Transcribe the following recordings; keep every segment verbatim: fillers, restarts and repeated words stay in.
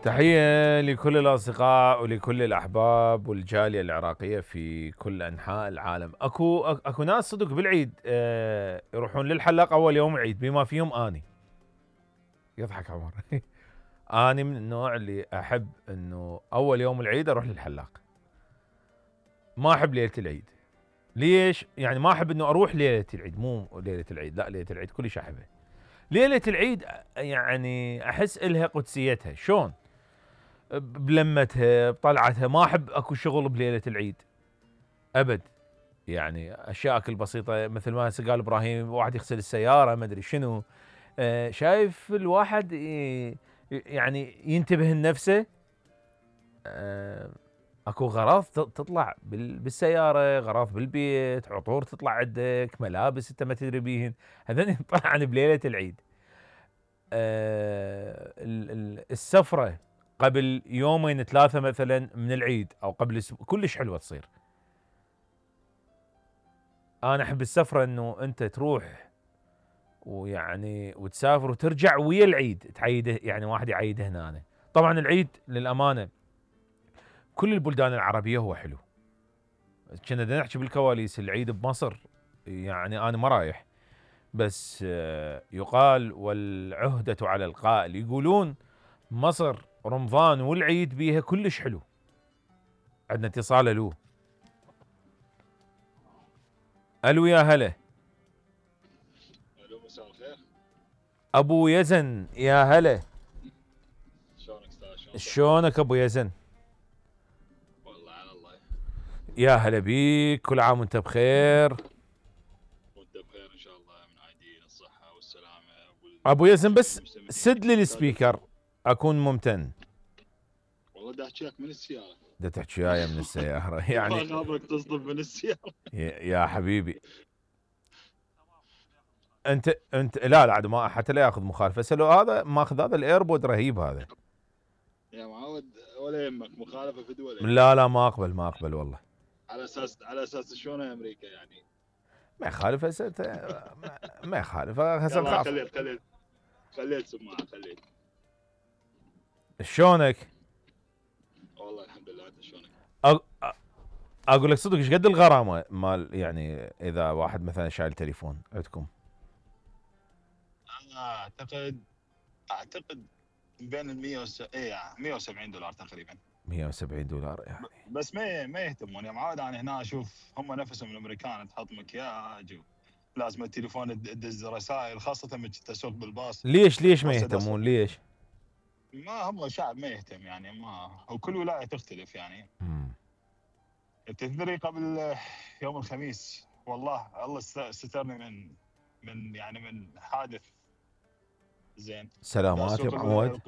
تحية لكل الأصدقاء ولكل الأحباب والجالية العراقية في كل أنحاء العالم. أكو أكو ناس صدق بالعيد اه يروحون للحلاق أول يوم العيد بما فيهم أني. يضحك عمر. أني من النوع اللي أحب إنه أول يوم العيد أروح للحلاق. ما أحب ليلة العيد. ليش؟ يعني ما أحب إنه أروح ليلة العيد، مو ليلة العيد، لا ليلة العيد كلش أحبها. ليلة العيد يعني أحس إلها قدسيتها، شلون؟ بلمتها بطلعتها، ما احب اكو شغل بليله العيد ابد. يعني اشياء البسيطه مثل ما هسه قال ابراهيم، واحد يغسل السياره ما ادري شنو. آه شايف الواحد يعني ينتبه لنفسه. آه اكو غراض تطلع بالسياره، غراض بالبيت، عطور تطلع عندك، ملابس انت ما تدري بيهن، هذول يطلعن بليله العيد. آه السفره قبل يومين ثلاثة مثلا من العيد او قبل اسبوع كلش حلوة تصير. انا احب السفرة انه انت تروح ويعني وتسافر وترجع ويا العيد تعيده، يعني واحد يعيده هنا. طبعا العيد للامانة كل البلدان العربية هو حلو. كنا نحكي بالكواليس العيد بمصر، يعني انا ما رايح، بس يقال والعهدة على القائل، يقولون مصر رمضان والعيد بيها كلش حلو. عندنا اتصال. الو الو يا هلا. الو مساء الخير. ابو يزن يا هلا. شلونك استاذ؟ شلونك ابو يزن؟ والله على الله. يا هلا بيك، كل عام وانت بخير. وانت بخير ان شاء الله، من عايدين الصحه والسلامه. ابو يزن بس سد لي السبيكر اكون ممتن. والله دا احكي لك من السياره. دا تحكي وياي من السياره يعني. ما خابرك تصدم من السياره. يا حبيبي انت انت لا لا عاد ما حتى لا ياخذ مخالفه، بس لو هذا ماخذ هذا الايربود رهيب هذا. يا معود ولا يهمك مخالفه في دول. لا لا ما اقبل ما اقبل والله. على اساس على اساس شلون امريكا يعني. ما يخالف هسه ما يخالف هسه نخاف. خليت خليت خليت سماعه خليت. شلونك؟ والله الحمد لله، انت شلونك؟ أ... اقول لك صدق ايش قد الغرامه مال يعني اذا واحد مثلا شايل تليفون عندكم؟ انا اعتقد اعتقد بين ال مية وس... ايه مية وسبعين دولار تقريبا. مية وسبعين دولار يعني. بس ما ما يهتمون يا معود. انا هنا اشوف هم نفسهم الامريكان تحط مكياج لازم التليفون تدز رسائل، خاصه لما تسوق بالباص. ليش ليش ما يهتمون ليش؟ ما هم شعب ما يهتم يعني، ما وكل ولايه تختلف يعني. مم. تدري قبل يوم الخميس والله الله سترني من من يعني من حادث. زين سلامات يا معود.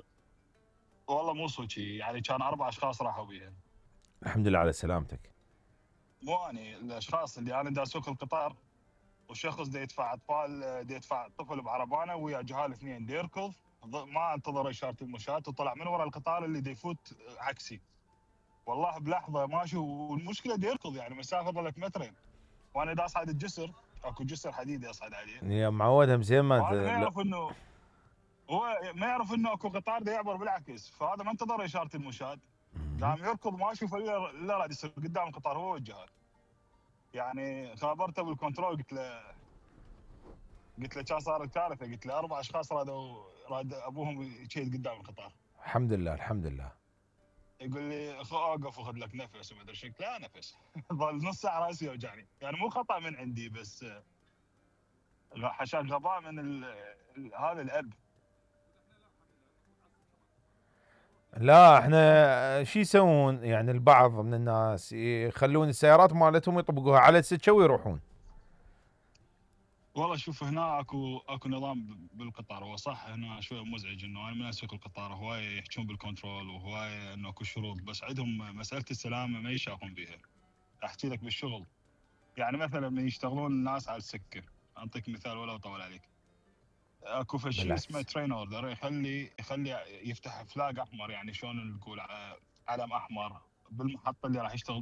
والله مو صوتي يعني، كان اربع اشخاص راحوا بيها. الحمد لله على سلامتك. مو اني الاشخاص اللي انا دا اسوق القطار، وشخص دا يدفع اطفال دا يدفع طفل بعربانه ويا جهال اثنين دا يركض، ما انتظر اشاره المشاة وطلع من ورا القطار اللي دا يفوت عكسي. والله بلحظه ماشي، والمشكله دا يركض يعني مسافه ظلت مترين، وانا دا اصعد الجسر، اكو جسر حديدي اصعد عليه. يا معود هم زين ما انت ما يعرف انه هو ما يعرف انه اكو قطار دا يعبر بالعكس، فهذا ما انتظر اشاره المشاة، قام يركض ما اشوف الا راد يصير قدام القطار هو والجهال. يعني خابرته بالكنترول، قلت له قلت له كان صار الكارثه، قلت له اربع اشخاص رادوا راد ابوهم يشيد قدام القطار. الحمد لله الحمد لله. يقول لي اوقف وخذ لك نفس وما ادري شو، لا نفس. ظل نص ساعه راسي يوجعني، يعني مو خطا من عندي بس حشاك غباء من ال ال هذا الاب. لا احنا شو يسوون يعني البعض من الناس يخلون السيارات مالتهم يطبقوها على السكه ويروحون. والله شوف هنا اكو اكو نظام بالقطار، هو صح هنا شويه مزعج انه انا من اسوق القطار هوايه يحجون بالكنترول وهوايه انه اكو شروط، بس عندهم مساله السلامه ما يشافون بيها. احكي لك بالشغل يعني مثلا من يشتغلون الناس على السكه، اعطيك مثال ولا اطول عليك. اكو شيء اسمه ترين اوردر، يخلي يخلي يفتح فلاج احمر، يعني شلون نقول علم احمر بالمحطه اللي راح يشتغل بيها